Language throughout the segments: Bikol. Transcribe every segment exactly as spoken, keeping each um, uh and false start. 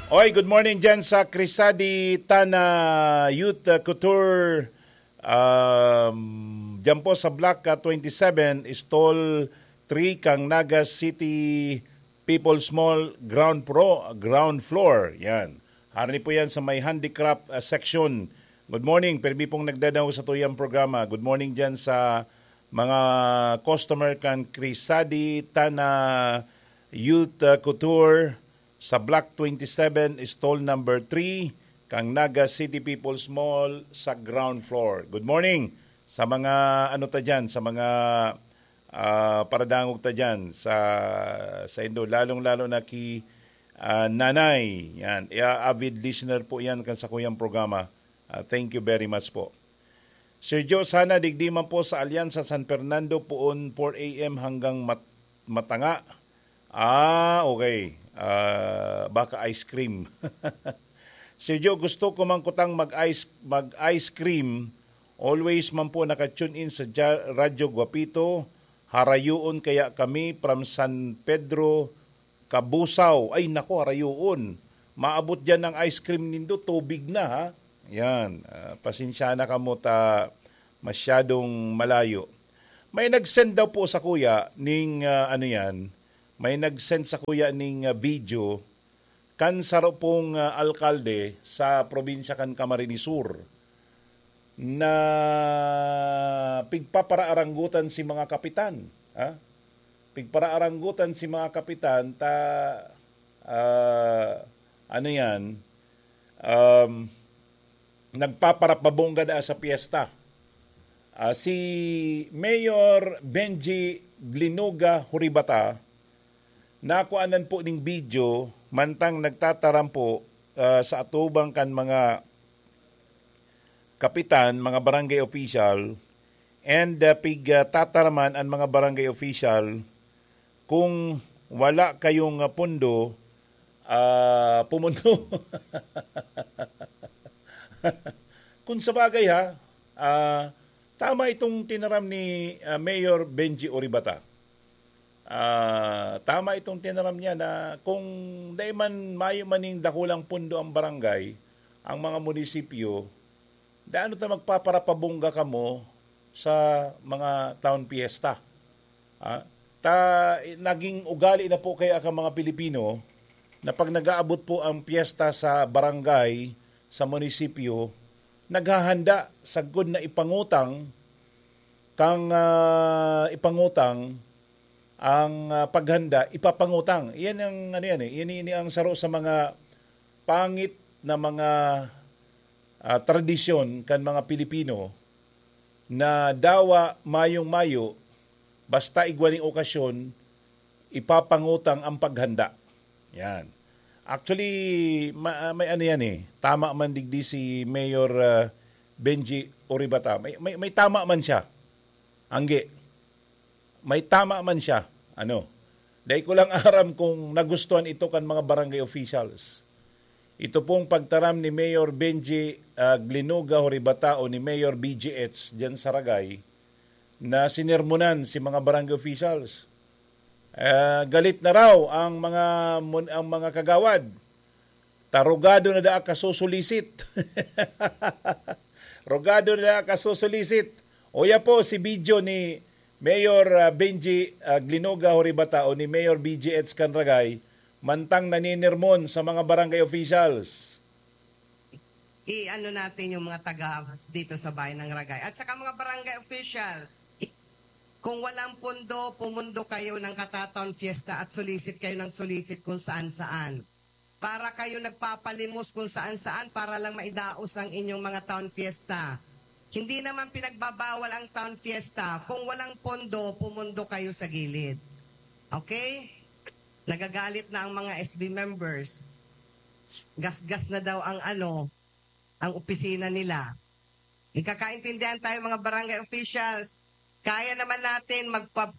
Oy, good morning dyan sa Crisadi Tana Youth uh, Couture. Um, dyan po sa Block uh, twenty-seven, Stall three, Kang Naga City People's Mall, ground pro, ground floor. Yan. Harani po yan sa may handicraft uh, section. Good morning. Permi pong nagdadaw sa tuyang programa. Good morning dyan sa mga customer kan Crisadi Tana Youth uh, Couture sa Block twenty-seven, stall number three, kang Naga City People's Mall sa ground floor. Good morning sa mga ano ta dyan, sa mga ah, paradangog ta dyan sa, sa indo, lalong-lalo na ki ah, Nanay. Yan, iya, avid listener po yan kan sa kuyang programa. Ah, thank you very much po. Sir Joe, sana digdi man po sa Alianza San Fernando, poon four a m hanggang mat- matanga. Ah, okay. Ah, baka ice cream. Sir Joe, gusto ko man kutang mag-ice, mag-ice cream. Always man po naka-tune in sa Ja- Radyo Guapito. Harayoon kaya kami from San Pedro, Cabusao. Ay, nako, harayoon. Maabot dyan ang ice cream nindo, tubig na, ha? Yan. Ah, pasensya na kamo ta masyadong malayo. May nag-send daw po sa kuya ning, ah, ano yan, may nag-send sa kuya ning, ah, video kan saro pong, ah, alkalde sa probinsya kan Camarines Sur na pigpaparaaranggutan si mga kapitan, ha? Pigparaaranggutan si mga kapitan ta, ah, ano yan, um, nagpaparapabongga na sa piyesta. Ah, si Mayor Benji Glinuga Huribata, nakuanan po ning video mantang nagtataram po ah, sa atubang kan mga kapitan, mga barangay official, and uh, pig uh, tataraman ang mga barangay official kung wala kayong uh, pondo, ah, pumundo. Kung sa bagay ha, ah, tama itong tinaram ni ah, Mayor Benji Oribata. Ah, tama itong tinaram niya na kung dai man mayo maning dakulang pundo ang barangay, ang mga munisipyo, dai ano ta magpaparapabongga kamo sa mga town fiesta. Ah, ta naging ugali na po kaya ang mga Pilipino na pag nag-aabot po ang piyesta sa barangay, sa munisipyo, naghahanda sagkod na ipangutang kang ah, ipangutang ang ah, paghanda, ipapangutang. Iyan ang ano yan eh. Ini, ini ang saro sa mga pangit na mga ah, tradisyon kan mga Pilipino na dawa mayong-mayo, basta igwa ning okasyon, ipapangutang ang paghanda. Yan. Actually, ma- may ano yan eh. Tama man digdi si Mayor ah, Benji Oribata. May, may, may tama man siya. Angge. May tama man siya. Ano? Dai ko lang aram kung nagustuhan ito kan mga barangay officials. Ito pong pagtaram ni Mayor Benji ah, Glinuga Horibata o ni Mayor B G H diyan sa Ragay na sinermonan si mga barangay officials. Ah, galit na raw ang mga mun- ang mga kagawad. Ta rogado na daa kasusulisit. Rogado na daa kasusulisit. Oya po si video ni Mayor ah, Benji ah, Glinuga Horibata o ni Mayor B G H Canragay mantang naninirmon sa mga barangay officials. I-ano natin yung mga taga dito sa Bayan ng Ragay. At saka mga barangay officials, kung walang pondo, pumundo kayo ng katatown fiesta at sulisit kayo ng sulisit kung saan-saan. Para kayo nagpapalimos kung saan-saan para lang maidaos ang inyong mga town fiesta. Hindi naman pinagbabawal ang town fiesta. Kung walang pondo, pumundo kayo sa gilid. Okay? Nagagalit na ang mga S B members. Gasgas na daw ang ano, ang opisina nila. Nagkakaintindihan tayo mga barangay officials. Kaya naman natin magpa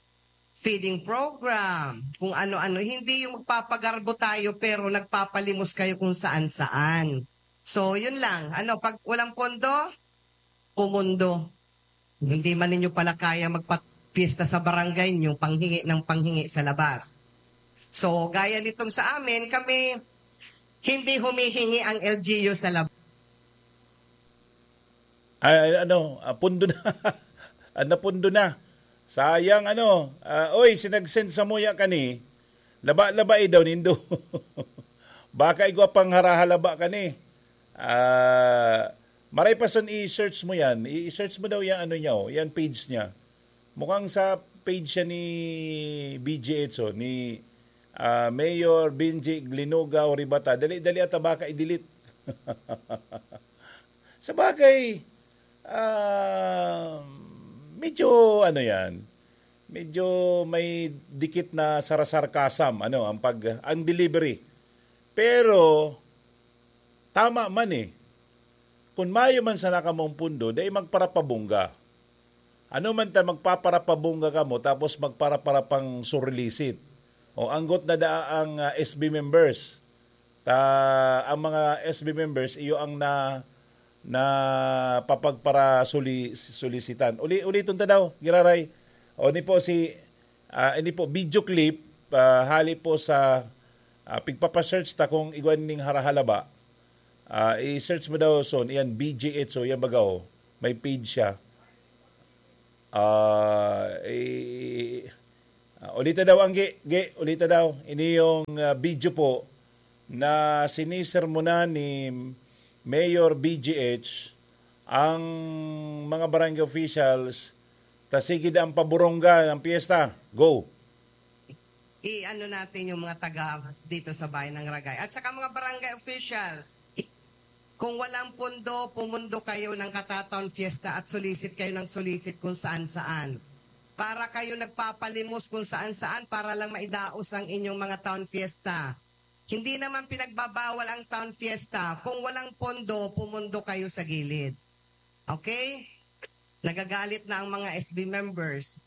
feeding program, kung ano-ano. Hindi yung magpapagarbo tayo pero nagpapalimos kayo kung saan-saan. So, yun lang. Ano, pag walang pondo, pumundo. Hindi man ninyo pala kaya magpa-fiesta sa barangay nyo, panghingi ng panghingi sa labas. So, gaya nitong sa amin, kami, Hindi humihingi ang L G U sa lab- Ay, ano, ah, pundo na. Ah, napundo na. Sayang, ano. Ah, oy, sinag-send samuya kani. Laba-labai daw nindo. Baka igwa pang harahalaba kani. Ah, maray pa son i-search mo yan. I-search mo daw yung ano niya, oh, yan page niya. Mukhang sa page siya ni B G H, oh, ni, ah, Mayor Benji Glinuga Oribata. Dali-dali ata baka i-delete. Sabagay, ah, medyo ano yan, medyo may dikit na sarasarkasam, ano, ang pag-, ang delivery. Pero, tama man eh. Kung mayo man sana kamong pundo, dai magparapabongga. Ano man ta magpaparapabongga kamo, tapos magparapara pang surlisit. O anggot na daa ang, ah, S B members. Ta, ang mga S B members, iyo ang na, na papagpara suli-, sulisitan. Uli-, uliton ta daw, giraray. O ni po si, ah, ini po, video clip, ah, hali po sa, ah, pigpapasearch ta kung igwa ning harahalaba. Ah, i-search mo daw son, iyan B G H, so iyan baga, oh. May page siya. Ah, i-, ah, ulita daw ang gi-, gi-, ulita daw. Ini yung, ah, video po na sinisermonan ni Mayor B G H ang mga barangay officials, ta sige daa paburongga ang piyesta. Go! I-ano natin yung mga taga dito sa Bayan ng Ragay. At saka mga barangay officials, kung walang pondo, pumundo kayo ng katataon fiesta at sulisit kayo ng sulisit kung saan-saan. Para kayo nagpapalimos kung saan-saan para lang maidaos ang inyong mga town fiesta. Hindi naman pinagbabawal ang town fiesta. Kung walang pondo, pumundo kayo sa gilid. Okay? Nagagalit na ang mga S B members.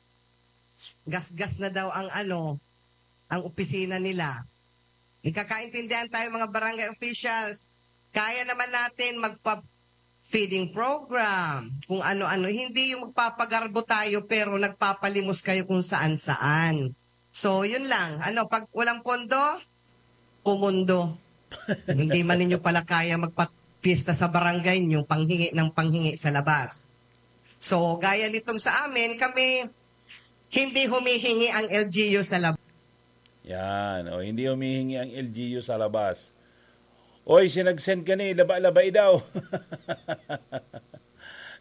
Gasgas na daw ang ano, ang opisina nila. Nagkakaintindihan tayo, mga barangay officials. Kaya naman natin magpa-feeding program, kung ano-ano. Hindi yung magpapagarbo tayo pero nagpapalimos kayo kung saan-saan. So, yun lang. Ano, pag walang pondo, pumundo. Hindi man ninyo pala kaya magpa-fiesta sa barangay nyo, panghingi ng panghingi sa labas. So, gaya nitong sa amin, kami, hindi humihingi ang L G U sa labas. Yan, o, hindi humihingi ang L G U sa labas. Oy, sinag-send ka ni, laba-labai daw.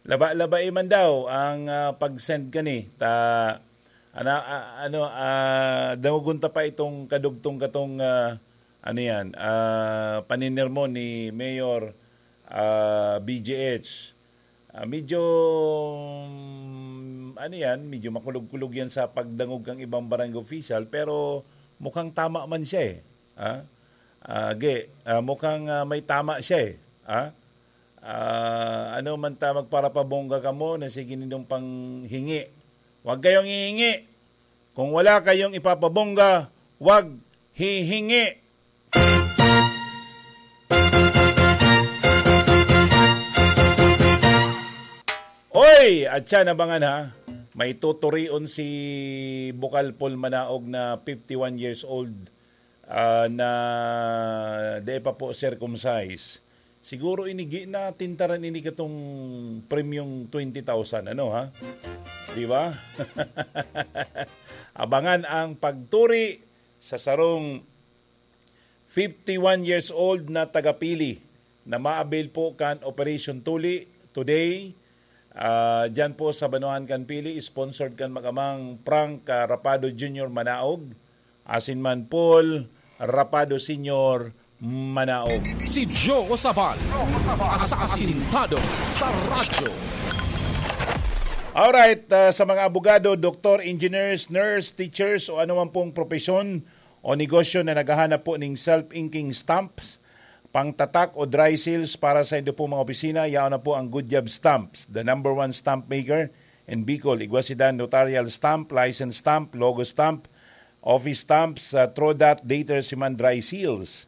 Laba-labai man daw ang, ah, pag-send ka ni. Ta, ana, ah, ano, ah, dangogon ta pa itong kadugtong katong, ah, ano yan, ah, paninirmo ni Mayor, ah, B G H. Ah, medyo, mm, ano yan, medyo makulog-kulog yan sa pagdangog kang ibang barangay official, pero mukhang tama man siya eh. Ah, ah, ge, ah, mukhang, ah, may tama siya eh. Ah, ah, ano man ta magparapabongga kamo na sige nindong panghingi. Huwag kayong hihingi. Kung wala kayong ipapabongga, huwag hihingi. Oy! At siya, nabangan ha, may tuturion si Bukal Paul Manaog na fifty-one years old, ah, na di pa po circumcised. Siguro ini gi-, natintaran ini katong premyong twenty thousand, ano ha? Di ba? Abangan ang pagturi sa sarong fifty-one years old na taga Pili na ma-avail po kan Operation Tuli today. Ah, dyan po sa Banuan kan Pili, sponsored kan mag-amang Frank, ah, Rapado Junior Manaog, asin man Paul Rapado Senior Manaog. Si Joe Sabal, asasintado sa radyo. Alright, ah, sa mga abogado, doktor, engineers, nurse, teachers, o anuman pong propesyon o negosyo na naghahanap po ning self-inking stamps, pangtatak o dry seals para sa indo pong mga opisina, yaon na po ang Good Job Stamps, the number one stamp maker in Bicol. Igwa sinda notarial stamp, license stamp, logo stamp, office stamps, uh, Trodat, dater, siman dry seals.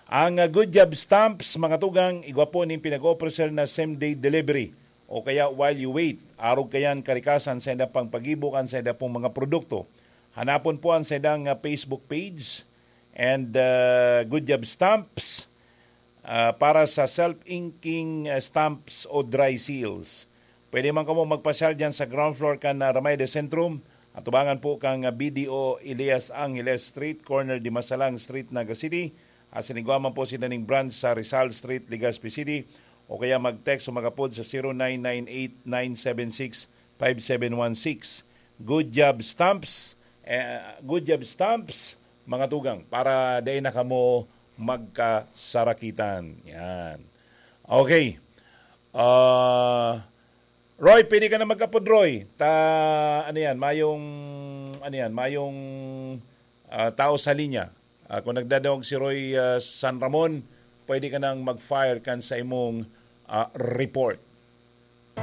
Ang, uh, Good Job Stamps, mga tugang, igwa po ning pinag-offer na same-day delivery o kaya while you wait. Arog kayan karikasan sa indang pagpagibo kan sa inda pong mga produkto. Hanapon po ang sa indang, uh, Facebook page and, uh, Good Job Stamps. Ah, para sa self-inking, ah, stamps o dry seals, pwede man kamo magpasyal dyan sa ground floor kan, ah, Ramay de Centrum, atubangan po kang, ah, B D O Elias Angeles Street, corner Dimasalang Street, Naga City. Asin igwa man po sinda ning branch sa Rizal Street, Legazpi City, o kaya mag-text o mag-apod sa zero nine nine eight nine seven six five seven one six. Good job, Stamps. Eh, good job, Stamps, mga tugang, para dai na kamo magkasarakitan. Yan. Okay. Ah, Roy, pwede ka na mag-apod, Roy. Ta, ano yan, mayong, ano yan, mayong, ah, tao sa linya. Ah, kung nagdadangog si Roy, ah, San Ramon, pwede ka nang mag-fire kan sa imong, ah, report.